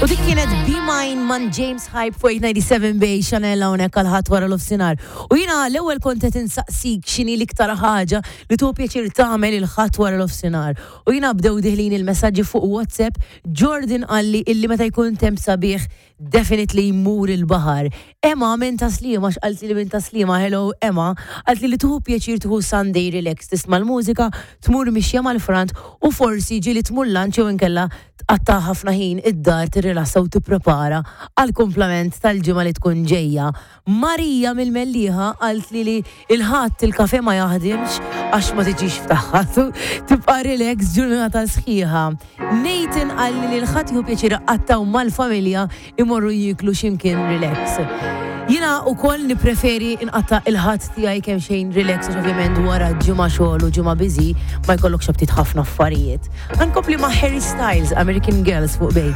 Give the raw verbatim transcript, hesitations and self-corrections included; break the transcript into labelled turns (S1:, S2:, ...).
S1: U dik kienet Be Mine man James Hype fuq eight ninety-seven Bay Chanel hawnhekk għal Ħadd wara nofsinhar. U jiena l-ewwel kont qed insaqsik x'inhi l-iktar ħaġa li tieħu pjaċir tagħmel il-Ħadd wara nofsinhar. U jiena bdew deħlin il-messaġġi fuq WhatsApp. Jordan qalli illi meta jkun temp sabiħ, definitely jmur il-baħar. Emma minn Tas-Sliema, x'qaltli li minn Tas-Sliema, hello Emma, qaltli li tieħu pjaċir tieħu Sunday relax, tisma' l-mużika, tmur mixja mal-front u forsi ġieli tmur lunch jew inkella tqatta' ħafna ħin id-dar tirrilassa u tipprepara għal kumplament tal-ġimgħa li tkun ġejja. Marija mill-Mellieħa qaltli li il-Ħadd il-kafe ma jaħdimx għax ma tiġix f'tagħha, tibqa' relax ġurnata sħiħa. Nathan qalli li l-Ħadd jieħu pjaċir iqattgħu mal-familja, imorru jiklu x'imkien relax. Jiena wkoll nipreferi nqatta' il-Ħadd tiegħi kemm xejn relax għax ovvjament wara ġimgħa xogħol u ġimgħa busy ma jkollokx aptit ħafna affarijiet. Nkompli ma' Harry Styles, American Girls fuq Bay.